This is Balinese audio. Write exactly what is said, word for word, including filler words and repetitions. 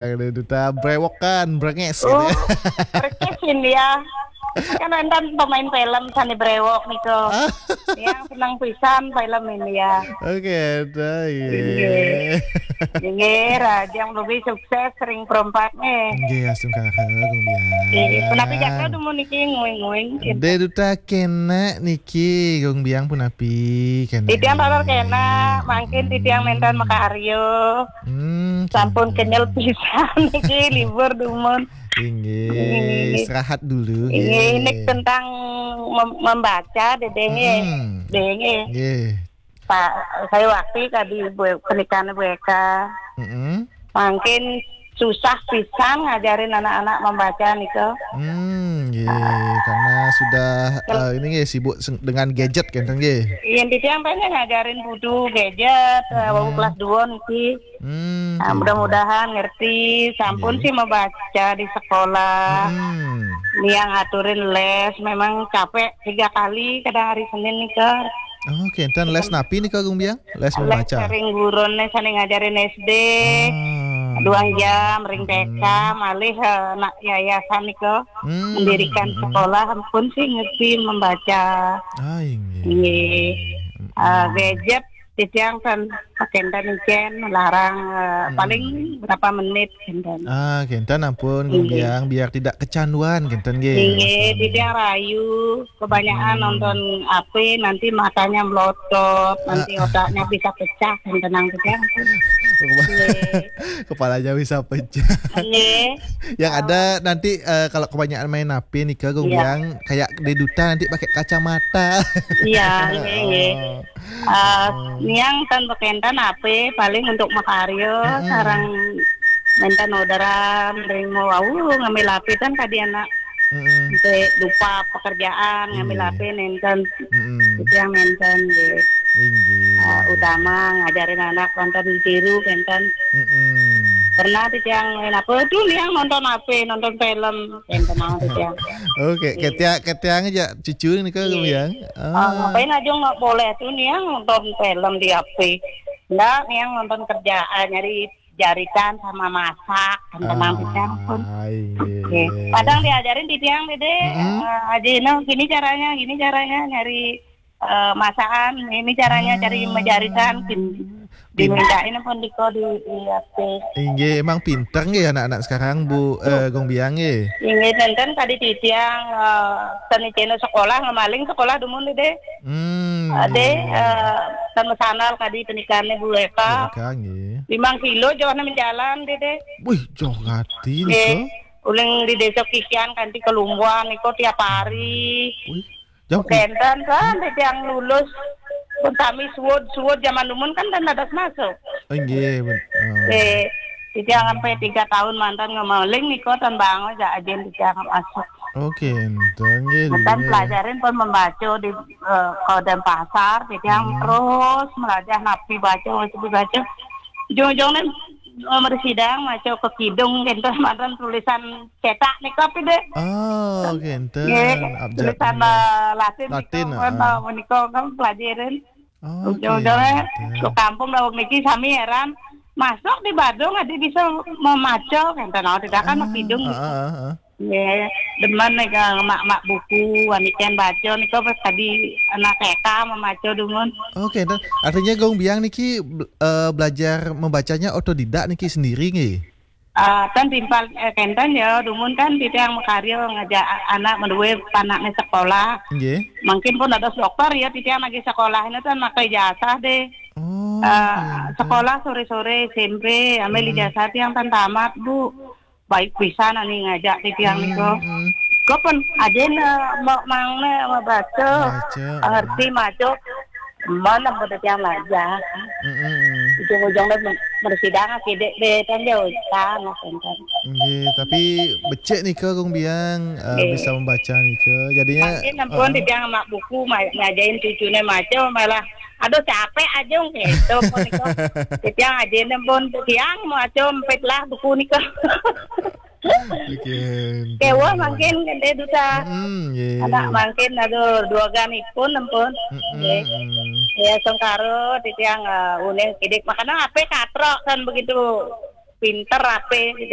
Ada duta brewokan, brenges gitu Oh, ya. Persis India. Kan enten pemain film sane brewok nika. Yang seneng pisan film India. Oke, dah iya. Iya. Nggih, Rajang lebih sukses sering perempat nih. Nggih, astungkara Gung Biang. Iya, kenapa jaka dumun niki nguing-nguing? De duta kena niki Gung Biang punapi kena. Titiang taler kena, mangkin titiang nenten makarya. Hmm, Sampun kena. kenyel pisan niki libur dumun. Inggih, istirahat dulu. Ini Nggih. Tentang mem- membaca Dede nggih. Hmm. Dede nggih. Nggih. Pak, saya waktu tadi Bu- pernikahan Bu Eka. Mm-mm. Mungkin susah pisan ngajarin anak-anak membaca nika. Hmm, nggih. Karena sudah eh, ini nggih sibuk seng- dengan gadget kan nggih. Yang titiang pengen ngajarin budu gadget, eh, wau kelas dua niki. Hmm. Nah, mudah-mudahan ngerti, sampun Nggih. Sih membaca di sekolah. Hmm. Niang aturin les, memang capek tiga kali kadang hari Senin nika. Oh, kenten les napi nih Gung Biang? Les Les membaca. Sering gurun nih sane ngajarin S D. Ah. Duang jam ring T K, malih eh, nak yayasan nika Hmm. mendirikan sekolah pun sih ngerti membaca. Ah, inggih. Nggih. Eh, gadget titiang kan pakenten icen melarang eh, paling berapa menit kenten. Ah, kenten ampun Gung Nggih. Biang biar tidak kecanduan kenten nggih. Iya, titiang rayu kebanyakan nonton H P nanti matanya melotot, nanti otaknya bisa pecah, tenang titiang. Kepala- Kepalanya bisa pecah. Iya. Yang ada nanti eh, kalau kebanyakan main H P nih ke Gung Iya. Biang kayak di duta nanti pakai kacamata. Iya, iya, iya. Oh. Eh, niang kan pakenten H P paling untuk makarya, sarang nenten orderan, ring mau wau ngambil H P kan tadi anak Mm-mm. sampai lupa pekerjaan, ngambil Iya. H P nenten, Mm-mm. itu yang nenten gitu. Inggih. Eh, utama ngajarin anak nonton tiru nenten. Mm-mm. Pernah tuh yang main apa tuh niang nonton H P, nonton film, nenten mau tuh yang. Oke, ketiak ketiang aja cucu nih ke Gung Biang. Ah, ngapain aja nggak boleh tuh niang nonton film di H P. Nggak, niang nonton kerjaan, nyari jarikan sama masak, tenang Ah, titiang pun. Iya. Oke. Kadang diajarin titiang dede, eh, aja ini gini caranya, gini caranya nyari eh, masakan, ini caranya cari menjarikan, gini. Dimintain pun diko di di H P. Inggih, emang pinter nggih anak-anak sekarang Bu eh, Gung Biang nggih. Inggih, nenten tadi titiang eh, tani channel sekolah ngemaling sekolah dumun dede. Hmm. Ade eh, tanu sanal tadi pernikahannya Bu Eka. Oke nggih. Lima kilo jauh nang jalan dede. Wih, jauh hati Nggih. nih. Uling di desa Kikian kanti kelumbuan niko tiap hari. Wih, jauh. Kenten kan titiang lulus. Pun kami suwud-suwud zaman dumun kan dan ada masuk. Oh, nggih, ben- oh. Eh, titiang sampai tiga tahun mantan ngemaling niko tan bangun aja ajen titiang masuk. Oke, enten nggih. Ngetan Dulu, ya. Pelajarin pun membaca di eh, kalau dan pasar, titiang terus melajah napi baca, napi baca. Ujung-ujungnya eh, mersidang maca ke kidung gitu mantan tulisan cetak nih kopi deh. Oh, oke, enten. Nggih, Abjad. tulisan eh, Latin, Latin, nika kan ah. eh, menika kan pelajarin. Oke, Ujung-ujungnya enten. ke kampung lawan niki sami heran. Masuk di Badung ada bisa memaca kan tenang tidak kan Ah, kidung. ah, ah, ah. Ya, demen nih ke mak-mak buku, waniken baca nih kok pas tadi anak T K memaca dumun. Oke, enten. Artinya Gung Biang niki bel- eh, belajar membacanya otodidak niki sendiri nggih. Ah, kan timpal eh, kenten ya, dumun kan titiang makarya ngajak anak menduwe panaknya sekolah. Nggih. Mungkin pun ada dokter ya, titiang lagi sekolah ini kan pakai ijazah deh. Oh, Eh, sekolah sore-sore S M P, ambil ijazah tiang kan tamat, Bu. Baik bisa nani ngajak titiang niku. Hmm. Kok pun aja mau mangnya mau baca, Baca. Ngerti maca. Mana pun titiang belajar. Mm-mm. Ujung-ujungnya bersidang kidek deh kan jauh kan kan. Nggih, tapi becik nika Gung Biang eh, Nggih. Bisa membaca nika. Jadinya Mungkin ampun eh, titiang mak buku ma- ngajain cucune maca malah aduh capek aja gitu pun niku. Titiang ajain pun tiang maca empit lah buku niku. Oke. Kewa mungkin gede duta. Hmm, nggih. Anak mungkin aduh dua ganipun ampun. Mm-mm, Nggih. mm. Ya sengkaro titiang eh, uning kidik makanya apa katrok kan begitu. pinter, rapi, gitu.